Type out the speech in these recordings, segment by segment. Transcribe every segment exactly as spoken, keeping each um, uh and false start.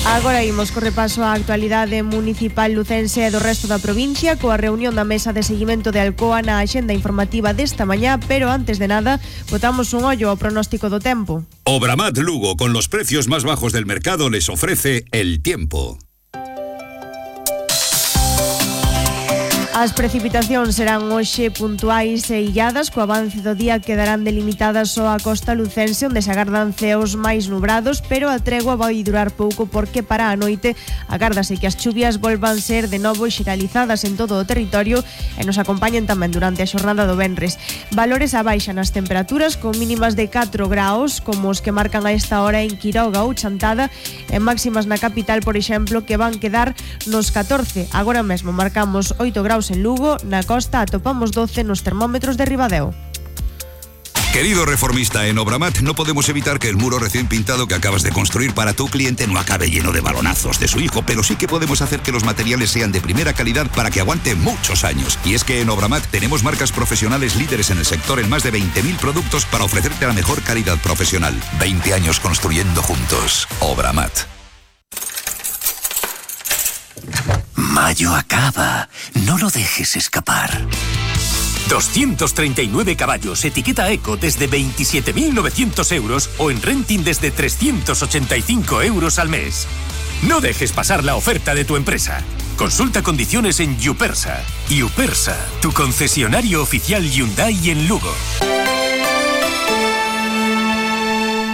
Agora imos co repaso á actualidade municipal lucense e do resto da provincia coa reunión da mesa de seguimento de Alcoa na axenda informativa desta mañá, pero antes de nada, botamos un ollo ao pronóstico do tempo. Obramat Lugo, con los precios más bajos del mercado, les ofrece el tiempo. As precipitacións serán hoxe puntuais e illadas, co avance do día quedarán delimitadas só a costa lucense, onde se agardan ceos máis nubrados, pero a tregua vai durar pouco porque para a noite agárdase que as chuvias volvan ser de novo xeralizadas en todo o territorio e nos acompañen tamén durante a xornada do venres. Valores a baixa nas temperaturas, con mínimas de catro graos, como os que marcan a esta hora en Quiroga ou Chantada, e máximas na capital, por exemplo, que van quedar nos catorce. Agora mesmo marcamos oito graus en Lugo, na costa atopamos doce nos termómetros de Ribadeo. Querido reformista, en Obramat no podemos evitar que el muro recién pintado que acabas de construir para tu cliente no acabe lleno de balonazos de su hijo, pero sí que podemos hacer que los materiales sean de primera calidad para que aguante muchos años. Y es que en Obramat tenemos marcas profesionales líderes en el sector en más de veinte mil productos para ofrecerte la mejor calidad profesional. veinte años construyendo juntos. Obramat. Mayo acaba. No lo dejes escapar. doscientos treinta y nueve caballos, etiqueta Eco desde veintisiete mil novecientos euros o en renting desde trescientos ochenta y cinco euros al mes. No dejes pasar la oferta de tu empresa. Consulta condiciones en Yupersa. Yupersa, tu concesionario oficial Hyundai en Lugo.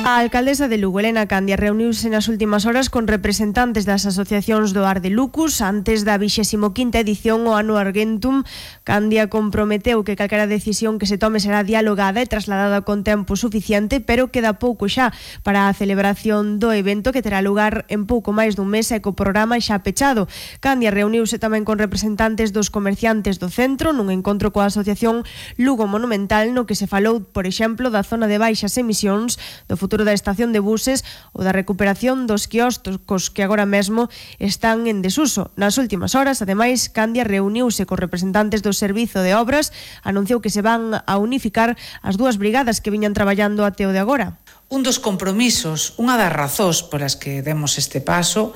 A alcaldesa de Lugo, Elena Candia, reuniuse nas últimas horas con representantes das asociacións do Ar de Lucus antes da vixésima quinta edición o Ano Argentum. Candia comprometeu que calquera decisión que se tome será dialogada e trasladada con tempo suficiente, pero queda pouco xa para a celebración do evento que terá lugar en pouco máis dun mes e co programa xa pechado. Candia reuniuse tamén con representantes dos comerciantes do centro nun encontro coa asociación Lugo Monumental, no que se falou, por exemplo, da zona de baixas emisións, do futuro da estación de buses ou da recuperación dos quioscos que agora mesmo están en desuso. Nas últimas horas, ademais, Candia reuniuse cos representantes do Servizo de Obras, anunciou que se van a unificar as dúas brigadas que viñan traballando até o de agora. Un dos compromisos, unha das razóns polas que demos este paso,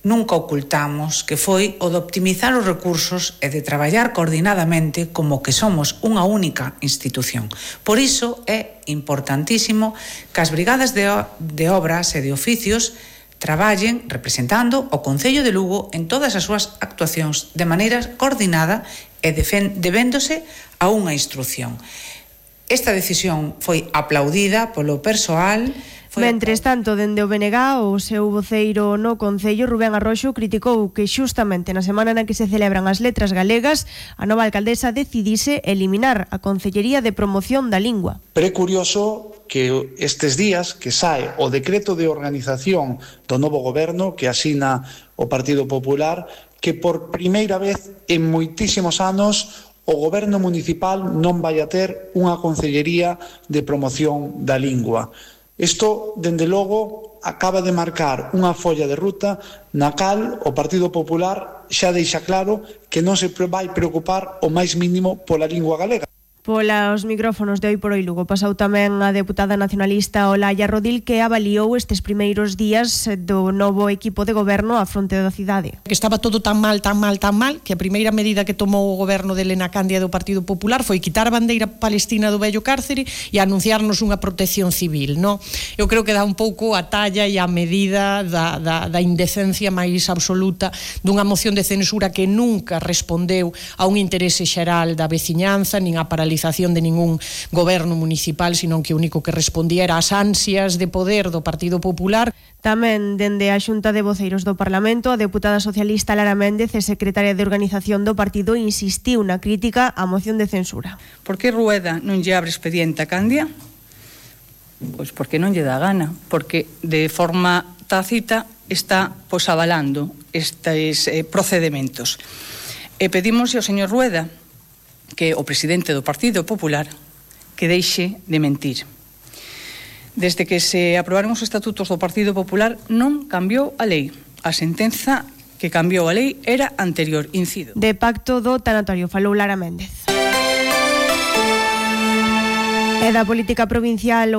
nunca ocultamos que foi o de optimizar os recursos e de traballar coordinadamente como que somos unha única institución. Por iso é importantísimo que as brigadas de, de obras e de oficios traballen representando o Concello de Lugo en todas as súas actuacións de maneira coordinada e debéndose a unha instrucción. Esta decisión foi aplaudida polo persoal. Mentres tanto, dende o B N G, o seu voceiro no Concello, Rubén Arroxo, criticou que xustamente na semana na que se celebran as letras galegas, a nova alcaldesa decidise eliminar a Concellería de Promoción da Lingua. Pero é curioso que estes días que sae o decreto de organización do novo goberno que asina o Partido Popular, que por primeira vez en moitísimos anos o goberno municipal non vai a ter unha Concellería de Promoción da Lingua. Isto, dende logo, acaba de marcar unha folla de ruta na cal o Partido Popular xa deixa claro que non se vai preocupar o máis mínimo pola lingua galega. Polos micrófonos de Hoy por Hoy Lugo pasou tamén a deputada nacionalista Olaya Rodil, que avaliou estes primeiros días do novo equipo de goberno á fronte da cidade. Que estaba todo tan mal, tan mal, tan mal, que a primeira medida que tomou o goberno de Elena Candia do Partido Popular foi quitar a bandeira palestina do vello cárcere e anunciarnos unha protección civil, no? Eu creo que dá un pouco a talla e a medida da, da, da indecencia máis absoluta dunha moción de censura que nunca respondeu a un interese xeral da veciñanza, nin a paralización de ningún goberno municipal, sino que o único que respondía era as ansias de poder do Partido Popular. Tamén dende a Xunta de Voceiros do Parlamento, a deputada socialista Lara Méndez e secretaria de Organización do partido insistiu na crítica á moción de censura. Por que Rueda non lle abre expediente a Candia? Pois porque non lle dá gana, porque de forma tácita está pois avalando estes eh, procedementos. E pedimos ao señor Rueda, que o presidente do Partido Popular, que deixe de mentir. Desde que se aprobaron os estatutos do Partido Popular non cambiou a lei. A sentenza que cambiou a lei era anterior, incido. De pacto do tanatorio falou Lara Méndez. E da política provincial